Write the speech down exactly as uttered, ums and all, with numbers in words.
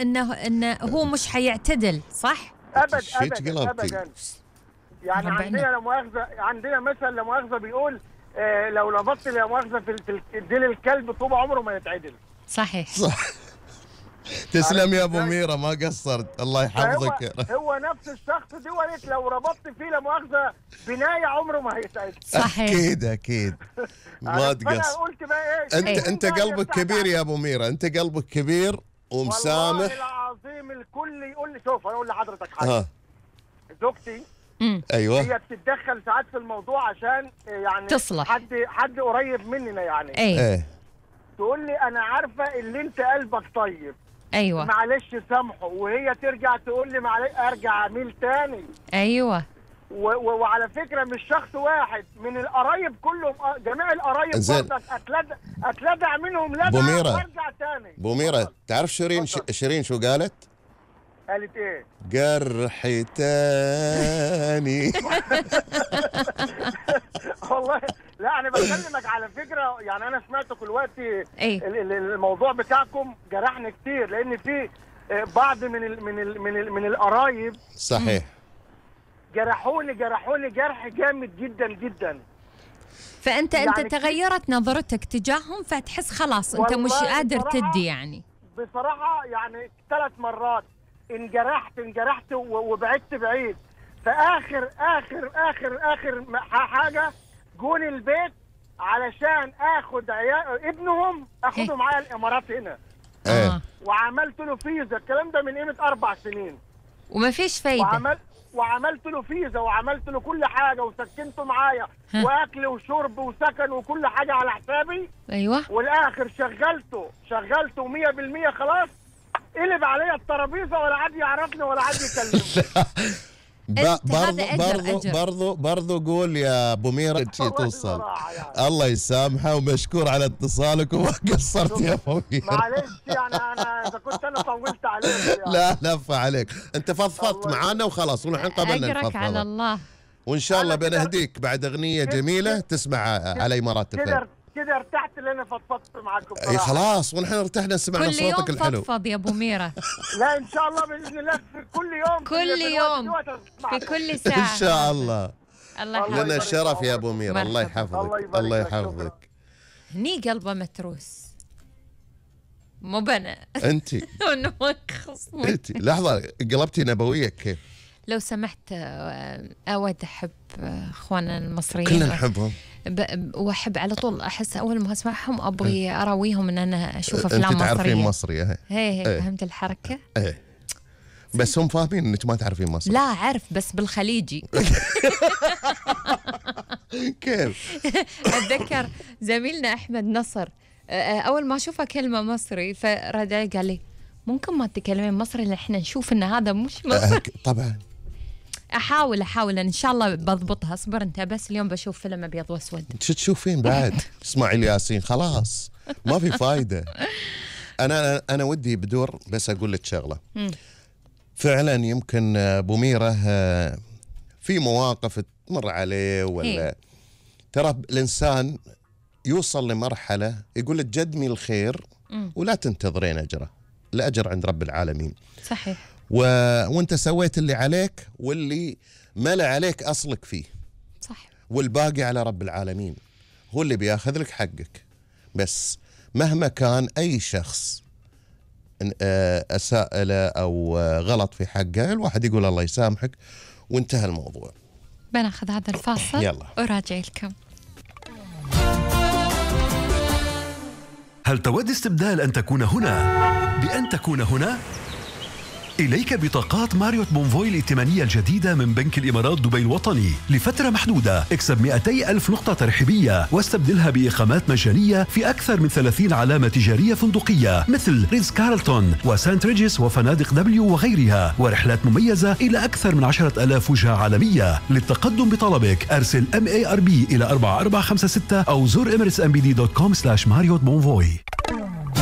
انه انه هو مش حيعتدل صح؟ ابد ابدا ابدا. يعني عندنا لا مؤاخذه، عندنا مثل لا مؤاخذه بيقول آه لو لبطت لا مؤاخذه في ديل الكلب طول عمره ما يتعدل. صحيح صح. تسلم يا ابو ميرا، ما قصرت، الله يحفظك. هو, هو نفس الشخص دوت لو ربطت فيه لا مؤاخذه بنايه عمره ما هيتعدل. صحيح اكيد اكيد ما تقصر. قلت بقى ايه؟ انت ايه؟ انت قلبك كبير يا ابو ميرا، انت قلبك كبير ومسامح. والله العظيم الكل يقول لي شوف انا اقول لحضرتك حاجه. زوجتي ايوه هي بتتدخل ساعات في الموضوع عشان يعني تصلح حد حد قريب مننا يعني. ايه, ايه. تقول لي انا عارفه اللي انت قلبك طيب. ايوه معلش سامحه، وهي ترجع تقول لي معلش ارجع اميل تاني. ايوه وعلى فكره مش شخص واحد، من القرايب كلهم، جميع القرايب برضك اتلدع اتلدع منهم لدع وارجع تاني. بوميرة تعرف شيرين ش... شيرين شو قالت؟ قالت ايه؟ جرحي تاني. والله لا انا بكلمك على فكره، يعني انا سمعتكم دلوقتي ايه؟ الموضوع بتاعكم جرحني كتير، لان في بعض من ال من ال من ال من القرايب صحيح جرحوني جرحوني جرح جامد جدا جدا. فانت يعني انت تغيرت نظرتك تجاههم، فتحس خلاص انت مش قادر تدي يعني. بصراحه يعني ثلاث مرات انجرحت انجرحت وبعدت بعيد. فاخر اخر اخر اخر حاجه جون البيت علشان اخد عيال ابنهم اخده معايا الامارات هنا. اه وعملت له فيزا، الكلام ده من قيمه اربع سنين وما فيش فايده. وعمل وعملت له فيزا وعملت له كل حاجه وسكنته معايا واكل وشرب وسكن وكل حاجه على حسابي. ايوه والاخر شغلته شغلته مية بالمية خلاص، قلب عليا الترابيزه ولا عاد يعرفني ولا عاد يكلمني. برضو برضو برضو برضو قول يا ابو ميرا شي توصل. يعني. الله يسامحه ومشكور على اتصالك وما قصرت يا ابو ميرا. معلش يعني انا اذا كنت انا طولت عليك يعني. لا لف عليك، انت فضفضت معانا وخلاص ونحن قبلنا نفضفض على الله. وان شاء الله بنهديك بعد اغنيه جميله تسمع على امارات الفن. كده ارتحت اللي انا فضفضت معاكم. اي خلاص ونحن ارتحنا سمعنا صوتك الحلو. كل يوم فضفض يا ابو ميرا. لا ان شاء الله باذن الله في كل يوم كل يوم في كل ساعه ان شاء الله. الله يحفظك. لنا الشرف يا ابو ميرا، الله يحفظك. الله يحفظك. هني قلبه متروس مو بنا. انت انت لحظه قلبتي نبويه كيف؟ لو سمحت اود احب اخواننا المصريين كلنا نحبهم واحب على طول احس اول ما اسمعهم ابغي اراويهم ان انا اشوف افلام مصريه. انت تعرفين مصري اهي هي هي فهمت الحركه؟ ايه بس هم فاهمين انك ما تعرفين مصري. لا اعرف بس بالخليجي. كيف؟ اتذكر زميلنا احمد نصر اول ما اشوفه كلمه مصري فرد قال لي ممكن ما تتكلمين مصري لان احنا نشوف ان هذا مش مصري. طبعا احاول احاول ان شاء الله بضبطها. اصبر انت بس اليوم بشوف فيلم ابيض واسود. شو تشوفين بعد؟ اسماعيل ياسين خلاص ما في فايده. انا انا ودي بدور بس اقول لك شغله. فعلا يمكن ابو ميرا في مواقف تمر عليه ولا ترى الانسان يوصل لمرحله يقول لك قدمي الخير ولا تنتظرين اجره، الاجر عند رب العالمين. صحيح. و... وانت سويت اللي عليك واللي ما لا عليك اصلك فيه. صح. والباقي على رب العالمين هو اللي بياخذ لك حقك. بس مهما كان اي شخص اساء له او غلط في حقه الواحد يقول الله يسامحك وانتهى الموضوع. بناخذ هذا الفاصل يلا وراجع لكم. هل تود استبدال أن تكون هنا بأن تكون هنا؟ إليك بطاقات ماريوت بونفوي الائتمانية الجديدة من بنك الإمارات دبي الوطني لفترة محدودة. اكسب مئتي ألف نقطة ترحيبية واستبدلها بإقامات مجانية في أكثر من ثلاثين علامة تجارية فندقية مثل ريتز كارلتون وسانت ريجيس وفنادق دبليو وغيرها، ورحلات مميزة إلى أكثر من عشرة ألاف وجهة عالمية. للتقدم بطلبك أرسل إم إيه آر بي إلى أربعة أربعة خمسة ستة أو زور إميريتس إم بي دي دوت كوم سلاش ماريوت بونفوي.